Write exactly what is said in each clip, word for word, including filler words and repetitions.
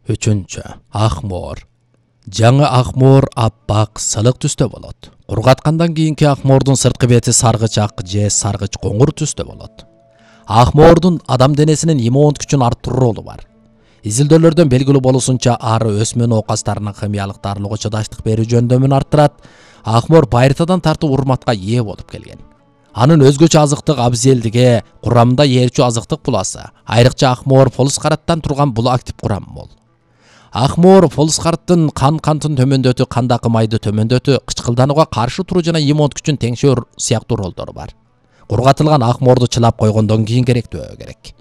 Үчүнчү. Акмоор. Жаңы акмоор аппак сылык түстө болот. Кургаткандан кийинки акмоордун сырткы бети саргыч ак же саргыч коңур түстө болот. Акмоордун адам денесинин иммундук күчүн арттыруу ролу бар. Изилдөөлөрдөн белгилүү болушунча ары өсмөн оокаттарынын химиялык дарылоого чыдаштык берүү жөндөмүн арттырат. Акмоор байыртадан тартып урматка ээ болуп келген. Анын өзгөчө азыктык абзелдиги курамында ээрчүү азыктык буласы. Айрыкча акмоор полускараттан турган бул актив курам мол. Акмоор полускараттын кан кантын төмөндөтүү, кандагы майды төмөндөтүү, кычкылданууга каршы туруу жана иммундук күчүн теңшөө сыяктуу ролдору бар. Кургатылган акмоорду чылап койгондон кийин керектөө керек.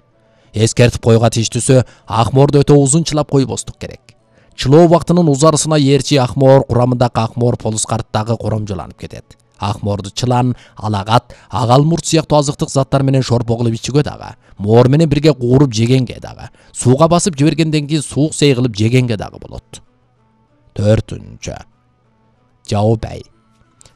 Эскертип койган тиштүүсү акмоорду өтө узун чылап койбостук керек. Чылоо убактынын узарысына ээрчи акмоор курамындагы акмоор полускараттагы коромжолонуп кетет. Акмоорду чылан, алагат, агалмурт сыяктуу азыктык заттар менен шорпо кылып ичүүгө дагы, моор менен бирге кууруп жегенге дагы, сууга басып жибергенден кийин суук сей кылып жегенге дагы болот. Төртүнчү. Жаубай.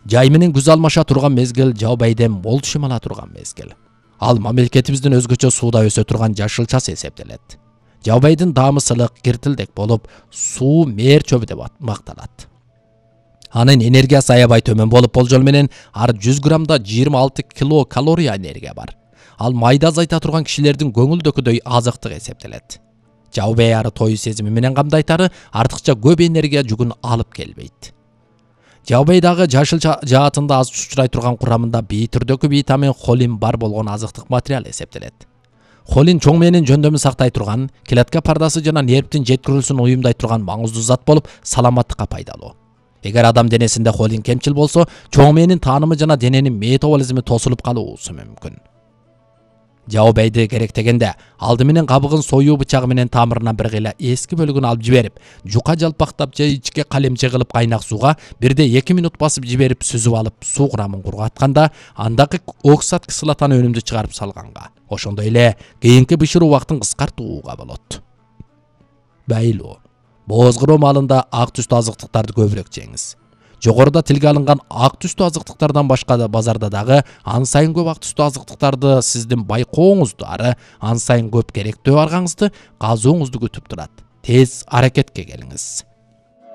Жай менен күз алмаша турган мезгил жаубайден мол түшүм ала турган мезгил. Ал мамлекетибиздин өзгөчө сууда өсө турган жашылчасы эсептелет. Жаубайдын даамы сылык, киртилдек болуп, суу мээр чөбү деп макталат. Анын энергиясы аябай төмөн болуп, болжол менен ар жүз граммда жыйырма алты кило калория энергия бар. Ал майда азайта турган кишилердин көңүлдөкүдөй азыктык эсептелет. Жаубай ары тою сезими менен камдайтары артыкча көп энергия жүгүн алып келбейт. Жаубайдагы жашыл жаатында аз учурай турган курамында бий түрдөгү витамин холин бар болгон азыктык материал эсептелет. Холин чоң мээнин жөндөмүн сактай турган, клетка пардасы жана нервдин жеткирүүсүн уюмдай турган маңыздуу зат болуп, саламаттыкка пайдалуу. Эгер адам денесинде холин кемчил болсо, чоң мээнин таанымы жана дененин метаболизми тосулуп калуусу мүмкүн. Жаубайды керектегенде алды менен кабыгын союу бычагы менен тамырынан бир кыйла эски бөлүгүн алып жиберип, жука жалпактап же ичке калемче кылып кайнак сууга бирде эки минут басып жиберип сүзүп алып, суу курамын кургатканда андагы оксат кислотаны өнүмдү чыгарып салганга, ошондой эле кийинки бышыруу убактын кыскартууга болот. Байлоо. Боозгороо маалында ак түстүү азыктыктарды көбүрөөк жеңиз. Жогоруда тилге алынган ак түстүү азыктыктардан башка да базарда дагы ан сайын көп ак түстүү азыктыктарды сиздин байкооңузду ары ан сайын көп керектөө аргаңызды казууңузду күтүп турат. Тез аракетке келиңиз.